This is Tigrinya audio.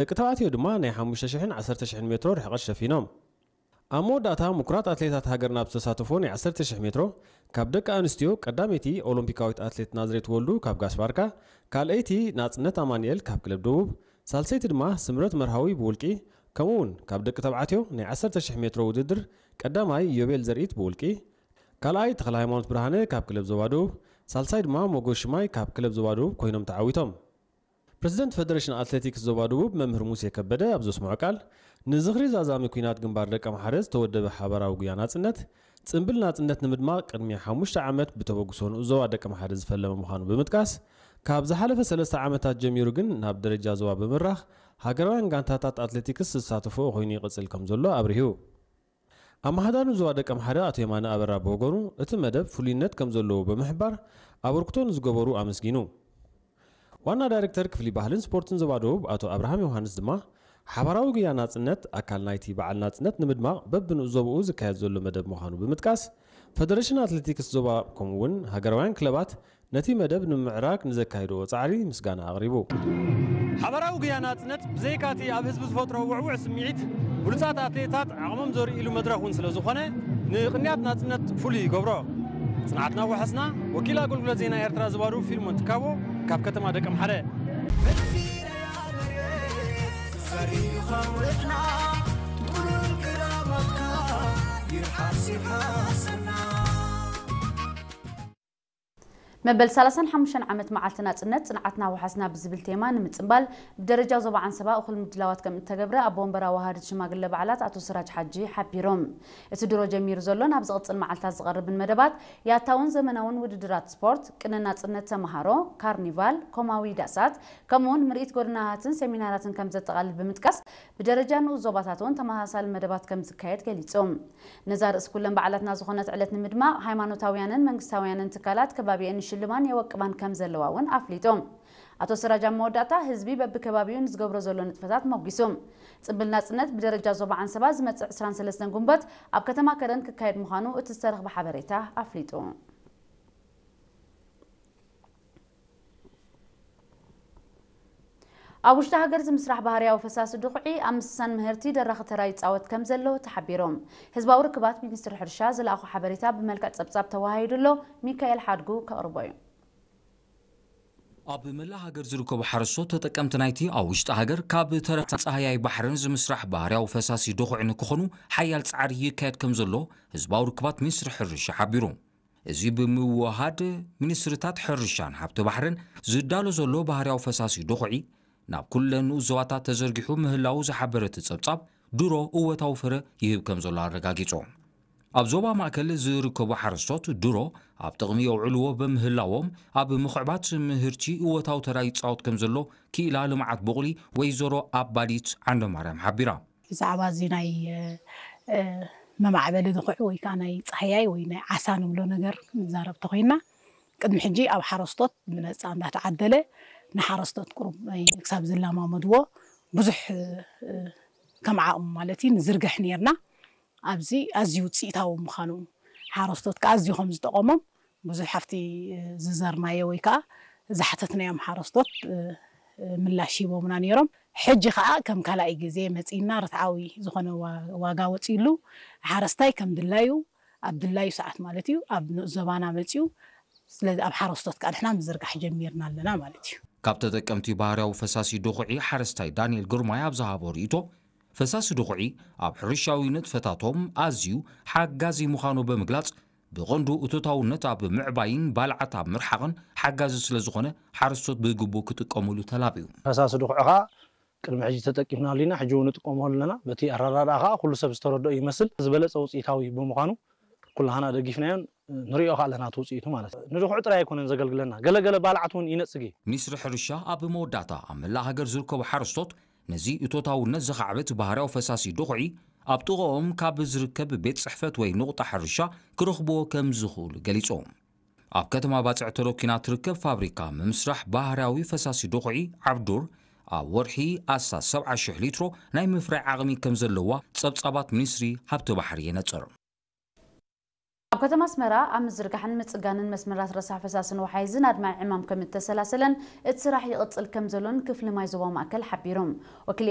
ደቂ ተባዕትዮ ድማ ናይ ሓሙሽተ ሽሕን ዓሰርተ ሽሕን ሜትሮ ርሕቐት ሸፊኖም። ኣብ መወዳእታ ምኩራት ኣትሌታት ሃገርና ኣብ ዝተሳተፎ ናይ ዓሰርተ ሽሕ ሜትሮ ካብ ደቂ ኣንስትዮ ቀዳመይቲ ኦሎምፒካዊት ኣትሌት ናዝሬት ወልዱ ካብ ጋስባርካ፣ ካልኣይቲ ናጽነት ኣማኑኤል ካብ ክለብ ደቡብ፣ ሳልሰይቲ ድማ ስምረት መርሃዊ ብውልቂ፣ ከምኡ እውን ካብ ደቂ ተባዕትዮ ናይ ዓሰርተ ሽሕ ሜትሮ ውድድር ቀዳማይ ዮቤል ዘርኢት ብውልቂ፣ ካልኣይ ተኽለ ሃይማኖት ብርሃነ ካብ ክለብ ዞባ ደቡብ፣ ሳልሳይ ድማ ሞጎስ ሽማይ ካብ ክለብ ዞባ ደቡብ ኮይኖም ተዓዊቶም። ፕረዚደንት ፈደሬሽን ኣትሌቲክስ ዞባ ደቡብ መምህር ሙሴ ከበደ ኣብ ዘስምዖ ቃል፣ ንዝኽሪ ዛዛሚ ኲናት ግንባር ደቀምሓረ ዝተወደበ ሓባራዊ ጉያ ናጽነት፣ ጽምብል ናጽነት ንምድማቕ ቅድሚ ሓሙሽተ ዓመት ብተበግሶ ንኡስ ዞባ ደቀምሓረ ዝፈለመ ምዃኑ ብምጥቃስ፣ ካብ ዝሓለፈ ሰለስተ ዓመታት ጀሚሩ ግን ናብ ደረጃ ዞባ ብምራኽ ሃገራውያን ጋንታታት ኣትሌቲክስ ዝሳተፍኦ ኮይኑ ይቕጽል ከም ዘሎ ኣብሪሁ። ኣመሓዳሪ ዞባ ደቀምሓረ ኣቶ የማነ ኣበራ ብወገኑ፣ እቲ መደብ ፍሉይነት ከም ዘለዎ ብምሕባር፣ ኣበርክቶ ንዝገበሩ ኣመስጊኑ። ዋና ዳይሬክተር ክፍሊ ባህልን ስፖርትን ዞባ ደቡብ ኣቶ ኣብርሃም ዮሃንስ ድማ፣ ሓባራዊ ጉያ ናጽነት ኣካል ናይቲ በዓል ናጽነት ንምድማቕ በብንኡስ ዞባኡ ዝካየድ ዘሎ መደብ ምዃኑ ብምጥቃስ፣ ፈደሬሽን ኣትሌቲክስ ዞባ ከምኡ እውን ሃገራውያን ክለባት ነቲ መደብ ንምምዕራግ ንዘካየድዎ ጻዕሪ ምስጋና ኣቕሪቡ። ሓባራዊ ጉያ ናጽነት ብዘይካ'ቲ ኣብ ህዝቢ ዝፈጥሮ ውዕዉዕ ስምዒት፣ ብሉጻት ኣትሌታት ዓቕሞም ዘርእይሉ መድረኽ እውን ስለ ዝኾነ፣ ንቕንያት ናጽነት ፍሉይ ይገብሮ። ጽንዓትና ወሓስና፣ ወኪል ኣገልግሎት ዜና ኤርትራ ዞባ ደቡብ ፊልሞን ትካቦ ካብ ከተማ ደቀምሓረ። መበል ሰላሳን ሓሙሽተን ዓመት መዓልቲ ናጽነት ጽንዓትና ወሓስና ብዝብል ቴማ ንምጽንባል ብደረጃ ዞባ ዓንሰባ እኹል ምድላዋት ከም እተገብረ ኣቦ ወንበር ኣዋሃድት ሽማግለ በዓላት ኣቶ ስራጅ ሓጂ ሓቢሮም። እቲ ድሮ ጀሚሩ ዘሎ ናብ ዝቕጽል መዓልታት ዝቐርብን መደባት ያታውን ዘመናውን ውድድራት ስፖርት፣ ቅነ ናጽነት ተመሃሮ፣ ካርኒቫል፣ ኮማዊ ዳሳት፣ ከምኡውን ምርኢት ጎደናታትን ሴሚናራትን ከም ዘጠቓልል ብምጥቃስ፣ ብደረጃ ንኡስ ዞባታት እውን ተመሳሳሊ መደባት ከም ዝካየድ ገሊጾም። ነዛ ርእሲ ኩለን በዓላትና ዝኾነት ዕለት ንምድማቕ፣ ሃይማኖታውያንን መንግስታውያንን ትካላት ከባቢኤን ይሽልማን የወቅባን ከም ዘለዋ እውን ኣፍሊጦም። ኣቶ ስራጅ ኣብ መወዳእታ፣ ህዝቢ በብከባቢኡ ንዝገብሮ ዘሎ ንጥፈታት ሞጒሱ። ጽምብል ናጽነት ብደረጃ ዞባ ዓንሰባ ዝመጽእ ዕስራን ሰለስተን ጉንበት ኣብ ከተማ ከረን ክካየድ ምዃኑ እቲ ዝተረኽበ ሓበሬታ ኣፍሊጡ። ኣብ ውሽጢ ሃገር ዝምስራሕ ባህርያዊ ፈሳሲ ድኹዒ ኣብ ምስሳን ምህርቲ ደራኺ ተራ ይጻወት ከም ዘሎ ተሓቢሩ። ህዝባዊ ርክባት ሚኒስትሪ ሕርሻ ዝለኣኾ ሓበሬታ ብመልክዕ ጸብጻብ ተወሃሂዱ ኣሎ። ሚካኤል ሓድጉ ከቕርቦ እዩ። ኣብ መላእ ሃገር ዝርከቡ ሓረስቶት ተጠቀምቲ ናይቲ ኣብ ውሽጢ ሃገር ካብ ተረፍቲ ጻህያይ ባሕርን ዝምስራሕ ባህርያዊ ፈሳሲ ድኹዒ ንክኾኑ ሓያል ጻዕሪ ይካየድ ከም ዘሎ ህዝባዊ ርክባት ሚኒስትሪ ሕርሻ ሓቢሩ። እዚ ብምውሃድ ሚኒስትሪታት ሕርሻን ሃብቲ ባሕርን ዝዳሎ ዘሎ ባህርያዊ ፈሳሲ ድኹዒ ናብ ኩለን ንኡስ ዞባታት ተዘርጊሑ ምህላዉ ዝሓበረ እቲ ጸብጻብ፣ ድሮ እወታዊ ፍረ ይህብ ከም ዘሎ ኣረጋጊጹ። ኣብ ዞባ ማእከል ዝርከቡ ሓረስቶት ድሮ ኣብ ጥቕሚ የውዕልዎ ብምህላዎም፣ ኣብ ምኽዕባት ምህርቲ እወታዊ ተራ ይጻወት ከም ዘሎ ክኢላ ልምዓት ቡቕሊ ወይዘሮ ኣባዲት ዓንደማርያም ሓቢራ። ብዛዕባ እዚ ናይ፣ እ፣ እ፣ መማዕበሊ ድኹዒ ወይ ከዓ ናይ ጻህያይ ወይ ናይ ዓሳ ንብሎ ነገር ክንዛረብ ተኾይንና፣ ቅድሚ ሕጂ ኣብ ሓረስቶት ብነጻ እንዳተዓደለ ንሓረስቶት ቁሩብ ናይ ክሳብ ዝለማመድዎ ብዙሕ፣ እ፣ ከም ዓቕሙ ማለት እዩ ንዝርግሕ ነይርና። ኣብዚ ኣዝዩ ውጽኢታዊ ምዃኑ፣ ሓረስቶት ከዓ ኣዝዩ ከም ዝጠቐሞም ብዙሕ ኣብቲ ዝዘርናዮ ወይ ከዓ ዝሓተትናዮም ሓረስቶት፣ እ፣ እ፣ ምላሽ ሂቦምና ነይሮም። ሕጂ ከዓ ከም ካልኣይ ግዜ መጺእና ርትዓዊ ዝኾነ ዋ-፣ ዋጋ ወጺእሉ ሓረስታይ ከም ድላዩ ኣብ ድላዩ ሰዓት ማለት እዩ ኣብ ንኡስ ዞባና መጺኡ። ስለዚ ኣብ ሓረስቶት ከዓ ንሕና ምዝርጋሕ ጀሚርና ኣለና ማለት እዩ። ካብ ተጠቀምቲ ባህርያዊ ፈሳሲ ድኹዒ ሓረስታይ ዳንኤል ግርማይ ኣብ ዝሃቦ ርእይቶ፣ ፈሳሲ ድኹዒ ኣብ ሕርሻዊ ንጥፈታቶም ኣዝዩ ሓጋዚ ምዃኑ ብምግላጽ፣ ብቐንዱ እቶታውነት ኣብ ምዕባይን ባልዓት ኣብ ምርሓቕን ሓጋዚ ስለ ዝኾነ፣ ሓረስቶት ብግቡእ ክጥቀሙሉ ተላብዩ። ፈሳሲ ድኹዒ ኸኣ ቅድሚ ሕጂ ተጠቂምናሉ ኢና፣ ሕጂ እውን ንጥቀመሉ ኣለና። በቲ ኣረዳድኣ ኸኣ ኩሉ ሰብ ዝተረድኦ ይመስል። ዝበለጸ ውጽኢታዊ ብምዃኑ ኩላህና ደጊፍናዮን ንሪኦ ኸኣ ኣለና እቲ ውጽኢቱ ማለት እዩ። ንድኹዒ ጥራይ ኣይኮነን ዘገልግለና፣ ገለ ገለ ባልዓት እውን ይነጽግ እዩ። ሚኒስትሪ ሕርሻ ኣብ መወዳእታ ኣብ መላእ ሃገር ዝርከቡ ሓረስቶት ነዚ እቶታውነት ዘኻዕብት ባህርያዊ ፈሳሲ ድኹዒ ኣብ ጥቕኦም ካብ ዝርከብ ቤት ጽሕፈት ወይ ንቑጣ ሕርሻ ክረኽብዎ ከም ዝኽእሉ ገሊጾም። ኣብ ከተማ ባጽዕ ተረኪና ትርከብ ፋብሪካ ምምስራሕ ባህርያዊ ፈሳሲ ድኹዒ ዓብዱር ኣብ ወርሒ ኣስታት ሰብዓ ሽሕ ሊትሮ ናይ ምፍራይ ዓቕሚ ከም ዘለዋ ጸብጻባት ሚኒስትሪ ሃብቲ ባሕሪ የነጽር። ኣብ ከተማ ኣስመራ ኣብ ምዝርጋሕን ምጽጋንን መስመራት ረሳሕ ፈሳስን ወሓይዝን ኣድማዒ ዕማም ከም እተሰላሰለን እቲ ስራሕ ይቕጽል ከም ዘሎን ክፍሊ ማይ ዞባ ማእከል ሓቢሩ። ወኪል